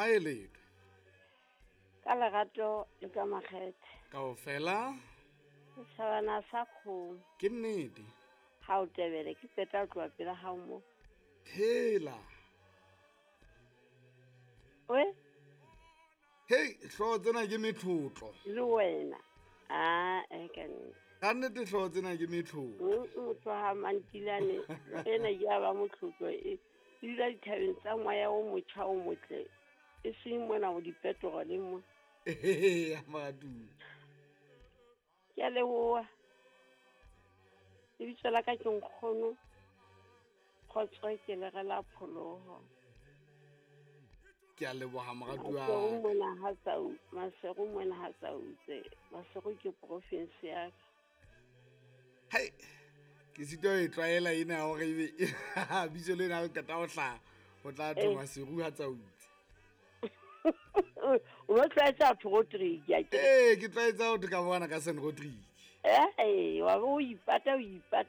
Ha e letho. Ka lerato le ka makgethe. Kaofela. Setjhabana sa kgomo. Ke nnete. Ha o tebele ke qeta ho tloha pela hao mo. Hela. We? Hei, hlooho tsena ke metlotlo. Le wena. Ah, e ka nnete. Ka nnete hlooho tsena ke metlotlo. Motho ha mantilane ena ke ya ba motlotlo e dula dithabeng tsa moya o motjha o motle. E seng mona o dipetrole mo. Eya, moratuwa. Ke a leboha. Lebitso la ka ke nkgono. Kgotso ke lere la pholoho. Ke a leboha moratuwa. Maseru mona ha tsau, Maseru mona ha tsautse. Maseru ke province ya ka. Hai. Ke sitwa ho e tlwaela ena ya hore ebe bitso lena ha le qeta ho hlaha ho tla thwe Maseru ha tsautse. O no tlwaetse batho Rodrigue akere? Ee, ke tlwaetse ho thwe ka bona ka San Rodrigue. Ee, wa bo o ipata o ipata.